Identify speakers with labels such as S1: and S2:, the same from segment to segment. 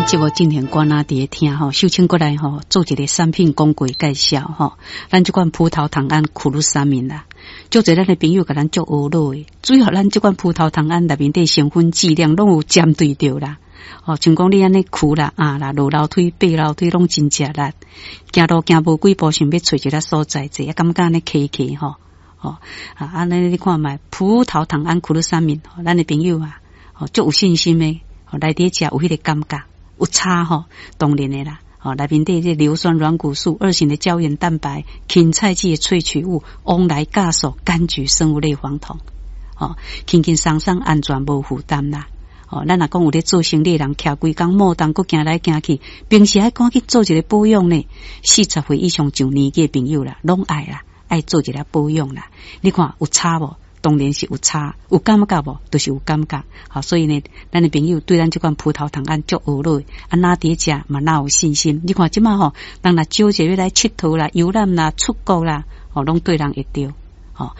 S1: 咱節目進行關啊，佇咧聽吼，秀清過來吼，做一個產品廣告介紹吼。咱這款葡萄糖胺苦魯三明啦，足濟咱的朋友共咱足懊惱的，主要咱這款葡萄糖胺內面底成分劑量攏有針對著啦。哦，像講你按呢跍啦、壓啦、落樓梯、爬樓梯攏真食力，行路行無幾步，想欲揣一个所在坐，啊，感覺按呢磕磕吼。哦，啊，按呢你看覓葡萄糖胺苦魯三明，咱的朋友啊，哦，足有信心的，哦，來佇食有彼個感覺。有差吼，當然的啦。吼，內面底這硫酸軟骨素、二型的膠原蛋白、芹菜劑的萃取物、旺來酵素、柑橘生物類黃酮，吼，輕輕鬆鬆安全無負擔啦。哦，咱若講有咧做生理的人，徛規工莫動，閣行來行去，平時愛趕緊做一个保養呢。40歲以上上年紀的朋友啦，攏愛啦，愛做一个保養啦。你看有差無？當然是有差，有感覺無？就是有感覺。好，所以呢，咱的朋友對咱這款葡萄糖胺足懊惱，啊，若佇食嘛，若有信心。你看這馬吼，人若招一個來𨑨迌啦、遊覽啦、出國啦，吼，攏對人會著。吼，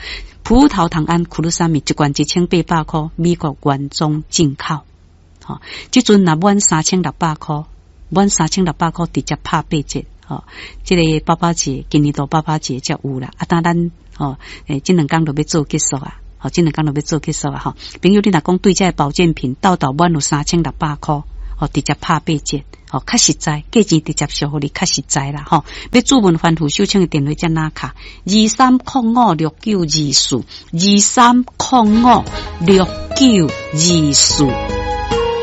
S1: 葡萄糖胺苦魯三米一罐1800箍，美國原裝進口。吼，這陣若滿三千六百箍，滿三千六百箍直接拍八折。吼，這個爸爸節，今年度爸爸節才有啦。啊，當咱吼，欸，這兩工就欲做結束啊！吼，這兩工就欲做結束啊！吼，朋友，你若講對這个保健品，沓沓滿有三千六百箍，吼，直接拍八折，吼，較實在，價錢直接俗予你較實在啦！吼，欲諮問番婦秀清的電話遮哪卡？23056924，23056924。